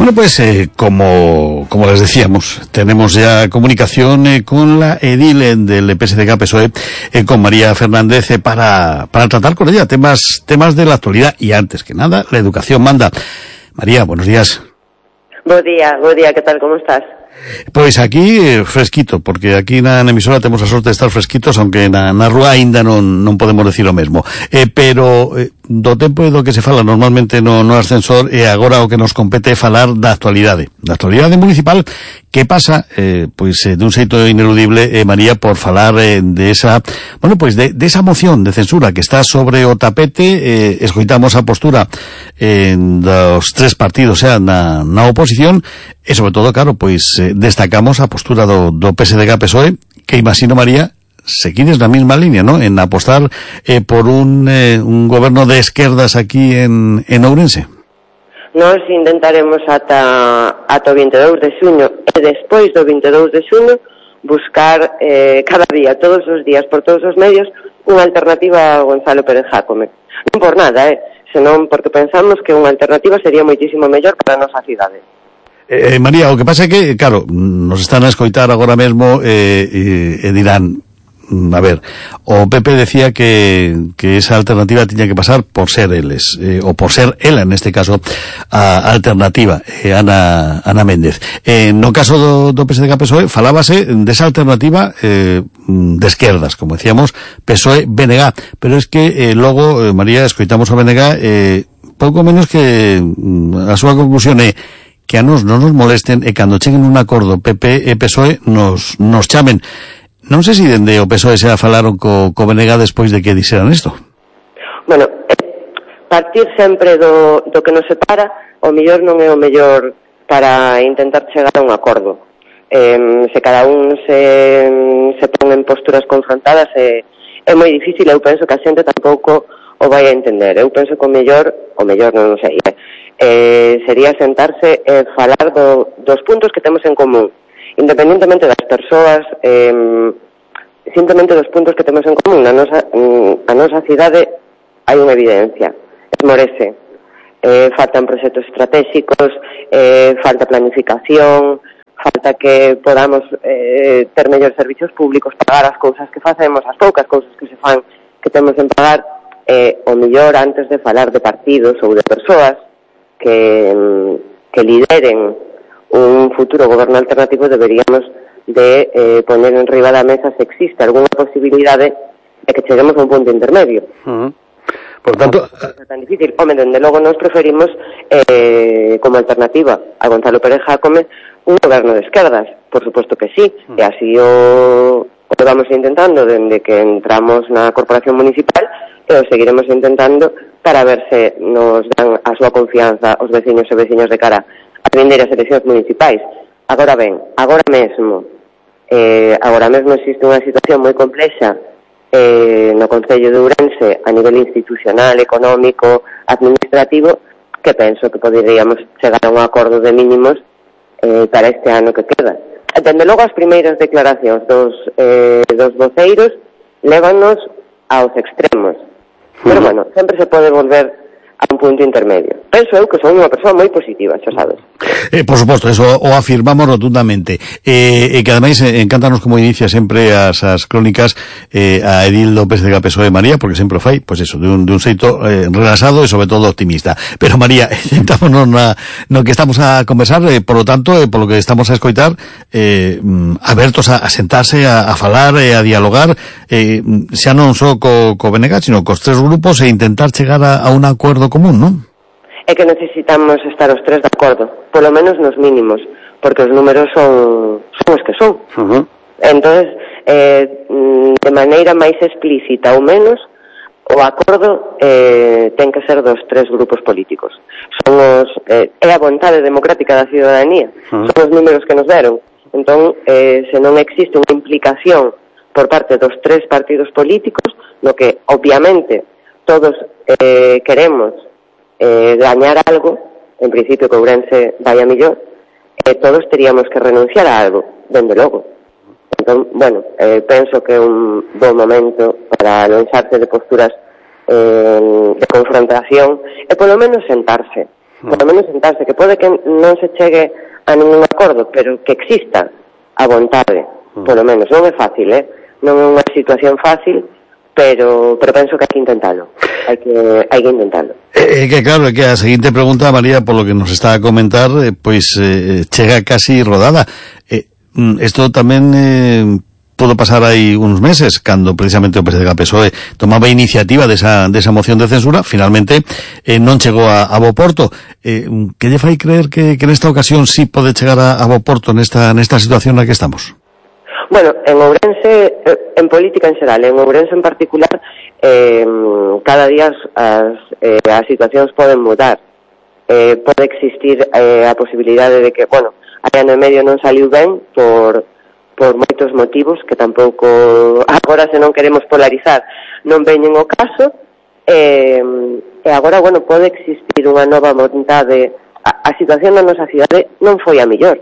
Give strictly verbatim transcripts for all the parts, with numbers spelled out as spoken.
Bueno, pues eh, como como les decíamos, tenemos ya comunicación eh, con la edil eh, del P S D G P S O E, eh, con María Fernández, eh, para para tratar con ella temas temas de la actualidad y, antes que nada, la educación manda. María, buenos días. Buen día, buen día, ¿qué tal, cómo estás? Pois aquí eh, fresquito, porque aquí na, na emisora temos a sorte de estar fresquitos, aunque na, na rúa aínda non, non podemos decir o mesmo. Eh, pero eh, do tempo do que se fala normalmente no, no ascensor, e agora o que nos compete é falar da actualidade. Da actualidade municipal, que pasa, eh, pois, eh, dun xeito ineludible, eh, María, por falar eh, de esa, bueno, pois, de, de esa moción de censura que está sobre o tapete. Eh, escoitamos a postura eh, dos tres partidos, xa, na, na oposición, e sobre todo, claro, pois, eh, destacamos a postura do, do P S D G P S O E, que imagino, María, seguides na mesma línea, ¿no?, en apostar eh, por un, eh, un goberno de esquerdas aquí en, en Ourense. Nós intentaremos ata, ata o vinte e dous de xuño e despois do vinte e dous de xuño buscar eh, cada día, todos os días, por todos os medios, unha alternativa a Gonzalo Pérez Jácome. Non por nada, eh, senón porque pensamos que unha alternativa sería moitísimo mellor para a nosa cidade. Eh, María, o que pasa é que, claro, nos están a escoitar agora mesmo e eh, eh, dirán, a ver, o P P decía que, que esa alternativa tiña que pasar por ser eles, eh, o por ser ela, en este caso, a alternativa, eh, Ana, Ana Méndez. Eh, no caso do, do P S D G P S O E, falábase desa alternativa eh, de esquerdas, como decíamos, P S O E B N G, pero es que eh, logo, eh, María, escoitamos o B N G, eh, pouco menos que a súa conclusión é que a nos non nos molesten e cando cheguen un acordo P P e P S O E nos, nos chamen. Non sei se dende o P S O E xa falaron co, co B N G despois de que dixeran isto. Bueno, partir sempre do, do que nos separa, o mellor non é o mellor para intentar chegar a un acordo. Eh, se cada un se, se pon en posturas confrontadas, é, é moi difícil. Eu penso que a xente tampouco o vai a entender. Eu penso que o mellor, o mellor non sei, eh, sería sentarse e falar do, dos puntos que temos en común, independentemente das persoas, eh, simplemente dos puntos que temos en común. Na nosa, a nosa cidade hai unha evidencia, esmorece, eh, faltan proxectos estratégicos, eh, falta planificación, falta que podamos eh, ter mellores servicios públicos, pagar as cousas que facemos, as poucas cousas que se fan que temos en pagar, eh, o mellor, antes de falar de partidos ou de persoas que, que lideren un futuro goberno alternativo, deberíamos de eh, poner en riba da mesa se existe algunha posibilidade de que cheguemos a un punto intermedio. Uh-huh. Por tanto, non é tan difícil. Home, dende logo nos preferimos eh, como alternativa a Gonzalo Pérez Jácome un goberno de esquerdas, por suposto que sí, uh-huh. E así o, o vamos intentando dende que entramos na corporación municipal, e o seguiremos intentando para ver se nos dan a súa confianza os veciños e veciños de cara a vindeiras eleccións municipais. Agora ben, agora mesmo, eh, agora mesmo existe unha situación moi complexa eh, no Concello de Ourense a nivel institucional, económico, administrativo, que penso que poderíamos chegar a un acordo de mínimos eh, para este ano que queda. Dende logo, as primeiras declaracións dos, eh, dos voceiros lévanos aos extremos. Pero, bueno, sempre se pode volver a un punto intermedio. Penso eu que son unha persoa moi positiva, xa sabes. Eh, por suposto, eso o afirmamos rotundamente. Eh, e que ademais eh, encántanos como inicia sempre as, as crónicas eh, a edil do P S D G P S O E María, porque sempre fai, pois pues eso, de un, de un xeito eh, relaxado e sobre todo optimista. Pero María, sentámonos na, no que estamos a conversar, eh, por lo tanto, eh, por lo que estamos a escoitar, eh, abertos a, a sentarse, a, a falar e eh, a dialogar, eh, xa non só co, co B N G, sino cos tres grupos, e intentar chegar a, a un acordo común, non? É que necesitamos estar os tres de acordo, polo menos nos mínimos, porque os números son, son os que son. Uh-huh. Entonces, eh, de maneira máis explícita ou menos, o acordo eh, ten que ser dos tres grupos políticos. Son os, eh, é a vontade democrática da ciudadanía, uh-huh. Son os números que nos deron. Entón, eh, se non existe unha implicación por parte dos tres partidos políticos, no que, obviamente, todos eh, queremos eh, gañar algo, en principio que Ourense vai a millón, eh, todos teríamos que renunciar a algo, dende logo. Entón, bueno, eh, penso que é un bom momento para lanzarse de posturas eh, de confrontación e polo menos sentarse. polo menos sentarse, que pode que non se chegue a ningún acordo, pero que exista a vontade, polo menos. Non é fácil, eh? Non é unha situación fácil, pero pero penso que hai que intentalo. Hai que hai que intentalo. É eh, que claro, é que a seguinte pregunta, María, polo que nos está a comentar, eh, pois eh, chega casi rodada. Eh, isto tamén eh, pudo pasar aí uns meses, cando precisamente o P S D e P S O E tomaba iniciativa desa, desa moción de censura, finalmente eh, non chegou a, a bo porto. Eh, que lle fai creer que, que nesta ocasión sí pode chegar a, a bo porto nesta, nesta situación na que estamos? Bueno, en Ourense, en política en xeral, en Ourense en particular, eh, cada día as, eh, as situacións poden mudar. Eh, pode existir eh, a posibilidade de que, bueno, hai ano e medio non saliu ben por, por moitos motivos que tampouco, agora se non queremos polarizar, non veñen o caso, eh, e agora, bueno, pode existir unha nova vontade. A, a situación da nosa cidade non foi a mellor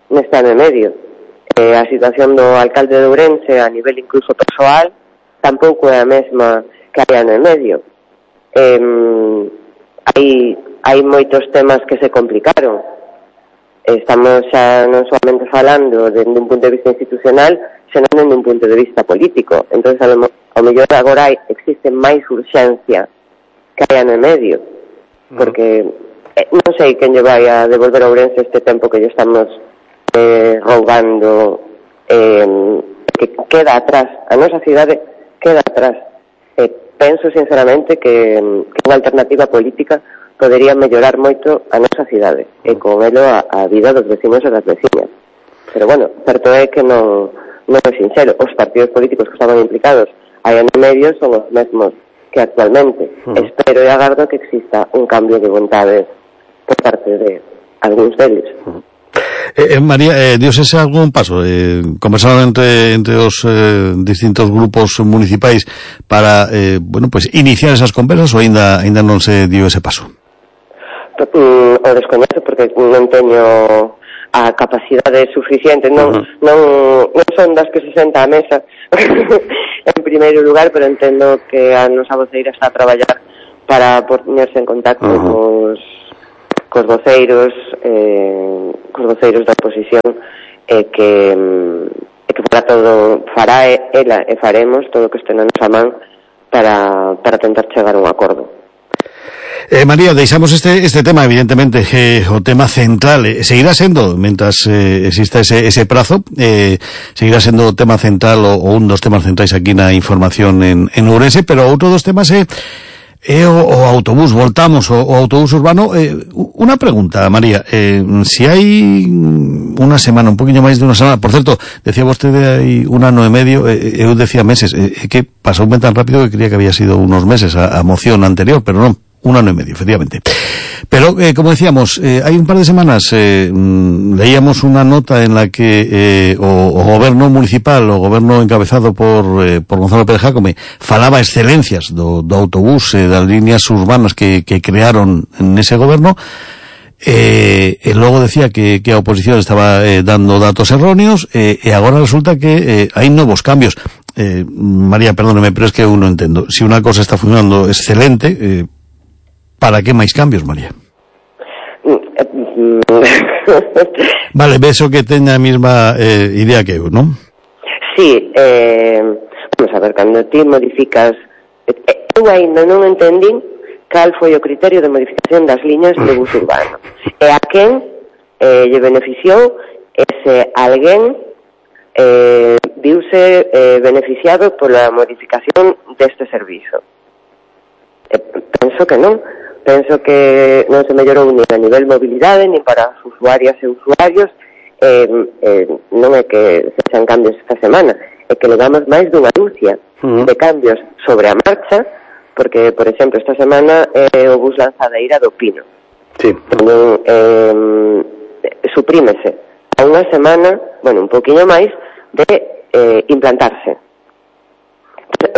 neste ano e medio. Eh, a situación do alcalde de Ourense a nivel incluso persoal tampouco é a mesma que hai ano e medio. Eh, hai, hai moitos temas que se complicaron. Estamos xa non solamente falando dende un punto de vista institucional, senón dende un punto de vista político. Entón, ao mellor agora hai, existe máis urxencia que hai ano e medio, porque eh, non sei quen lle vai a devolver a Ourense este tempo que lle estamos Eh, roubando, eh, que queda atrás, a nosa cidade queda atrás. Eh, penso sinceramente que, que unha alternativa política podería mellorar moito a nosa cidade e con elo a, a vida dos vecinos e das vecinas. Pero bueno, certo é que non, non é sincero. Os partidos políticos que estaban implicados hai ano e medio son os mesmos que actualmente. Uh-huh. Espero e agardo que exista un cambio de vontade por parte de algúns deles. Uh-huh. Eh, María, eh, dios ese algún paso? Eh, conversaron entre, entre os eh, distintos grupos municipais para, eh, bueno, pues iniciar esas conversas ou ainda, ainda non se dio ese paso? Mm, o descoñezo porque non teño a capacidade suficiente, non, uh-huh. non, non son das que se senta á mesa en primeiro lugar, pero entendo que a nosa voceira está a traballar para poñerse en contacto uh-huh. cos cos voceiros eh, cos voceiros da oposición e que e que fará todo fará ela e faremos todo o que este na nosa man para, para tentar chegar a un acordo. Eh, María, deixamos este, este tema, evidentemente, eh, o tema central, eh, seguirá sendo, mentras eh, exista ese, ese prazo, eh, seguirá sendo o tema central o, o un dos temas centrais aquí na información en, en Ourense, pero outro dos temas é eh, E o, o autobús, voltamos o, o autobús urbano. Eh, unha pregunta, María, eh, si hai unha semana, un poquinho máis de unha semana, por certo, decía vostede hai un ano e medio, eh, eu decía meses, é eh, que pasou ben tan rápido que creía que había sido unos meses a, a moción anterior, pero non, un ano e medio, efectivamente. Pero, eh, como decíamos, eh, hai un par de semanas eh, leíamos unha nota en la que eh, o, o goberno municipal, o goberno encabezado por, eh, por Gonzalo Pérez Jácome, falaba excelencias do, do autobús, eh, das líneas urbanas que, que crearon nese goberno, eh, e logo decía que, que a oposición estaba eh, dando datos erróneos, eh, e agora resulta que eh, hai novos cambios. Eh, María, perdóneme, pero es que eu non entendo. Si unha cosa está funcionando excelente, eh, ¿para qué máis cambios, María? Vale, beso que teña a mesma eh, idea que eu, non? Sí, eh, vamos a ver, cando ti modificas, eh, eu ainda non entendín cal foi o criterio de modificación das liñas de bus urbano. E a quen eh, lle beneficiou ese alguén eh, viuse eh, beneficiado pola modificación deste servizo. Eh, penso que non. Penso que non se mellorou nin a nivel mobilidade, nin para as usuarias e usuarios. Eh, eh, non é que se sean cambios esta semana, é que levamos máis dunha dúcia uh-huh. de cambios sobre a marcha, porque, por exemplo, esta semana é eh, o bus Lanzadeira do Pino. Sí. Entón, eh, suprímese a unha semana, bueno, un poquinho máis, de eh, implantarse.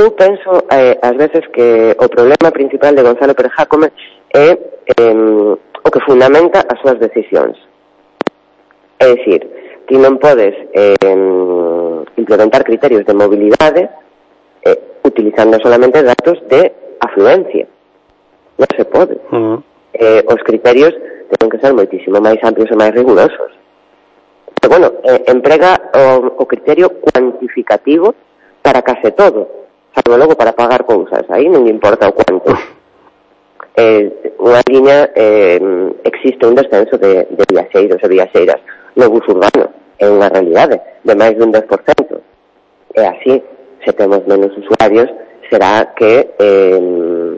Eu penso, eh, ás veces, que o problema principal de Gonzalo Pérez Jácome é eh, o que fundamenta as súas decisións. É dicir, ti non podes eh, implementar criterios de mobilidade eh, utilizando solamente datos de afluencia. Non se pode. Uh-huh. eh, os criterios teñen que ser moitísimo máis amplios e máis rigurosos. Pero, bueno, eh, emprega o, o criterio cuantificativo para case todo, salvo logo para pagar cousas, aí non importa o cuanto. Eh, unha liña, eh, existe un descenso de, de viaxeiros e viaxeiras no bus urbano, é unha realidade, de máis dun dez por cento. E así, se temos menos usuarios, será que eh,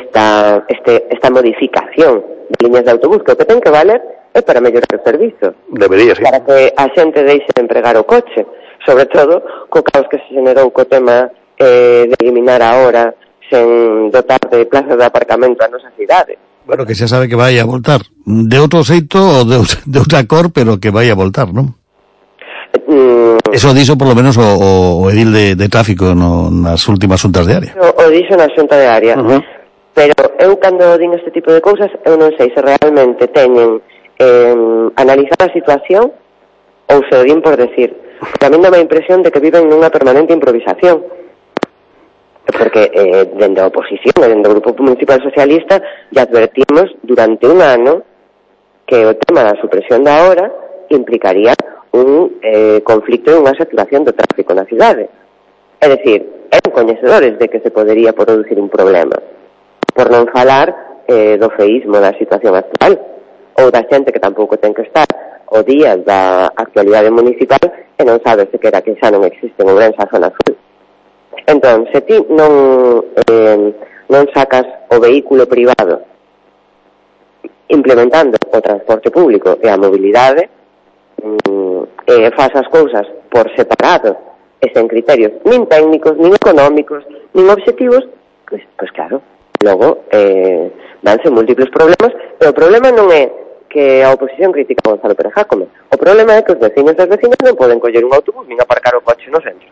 esta, este, esta modificación de liñas de autobús, que o que ten que valer é para mellorar o servizo. Debería, sí. Para que a xente deixe de empregar o coche, sobre todo co caos que se generou co tema eh, de eliminar a hora sen dotar de plazas de aparcamento a nosa cidade. Bueno, que xa sabe que vai a voltar. De outro xeito ou de, de outra cor, pero que vai a voltar, non? Mm, Eso dixo por lo menos o, o edil de, de tráfico no, nas últimas xuntas de área. O, o dixo na xunta de área. Uh-huh. Pero eu, cando din este tipo de cousas, eu non sei se realmente teñen eh, analizar a situación ou se o din por decir. Porque a mí dá a impresión de que viven nunha permanente improvisación. Porque eh, dende a oposición e dende o Grupo Municipal Socialista ya advertimos durante un ano que o tema da supresión da hora implicaría un eh, conflicto e unha saturación do tráfico na cidade. É dicir, eran coñecedores de que se podería producir un problema. Por non falar eh, do feísmo da situación actual, ou da xente que tampouco ten que estar o día da actualidade municipal e non sabe se quera que xa non existe en Ourense a zona azul. Entón, se ti non, eh, non sacas o vehículo privado implementando o transporte público e a mobilidade, e faz as cousas por separado e sen criterios nin técnicos, nin económicos, nin obxectivos, pois, pois claro, logo eh, vanse múltiples problemas, e o problema non é que a oposición critica a Gonzalo Pérez Jácome, o problema é que os veciños e as vecinas non poden coller un autobús nin aparcar o coche no centro.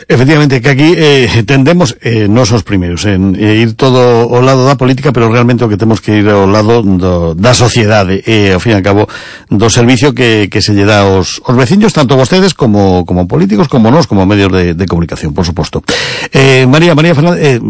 Efectivamente, que aquí eh, tendemos, eh, non os primeiros, en eh, ir todo ao lado da política, pero realmente o que temos que ir ao lado do, da sociedade, e, ao fin e ao cabo, do servicio que, que se lle dá aos, aos veciños, tanto vostedes como, como políticos, como nós, como medios de, de comunicación, por suposto. Eh, María, María Fernández, eh,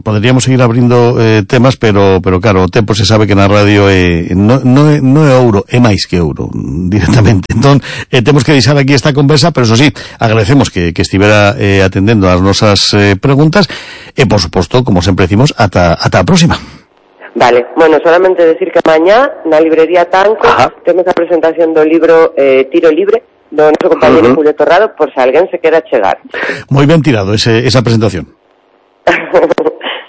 poderíamos seguir abrindo eh, temas, pero pero claro, o tempo se sabe que na radio é, no, no, é, no é ouro, é máis que ouro, directamente. Entón, eh, temos que deixar aquí esta conversa, pero eso sí, agradecemos que, que estivera eh, atendendo as nosas eh, preguntas, e por suposto, como sempre decimos, ata, ata a próxima. Vale, bueno, solamente decir que mañá na librería Tanco Ajá. temos a presentación do libro eh, Tiro Libre, do noso compañero uh-huh. Julio Torrado, por se alguén se quera chegar. Moi ben tirado ese, esa presentación.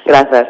Gracias.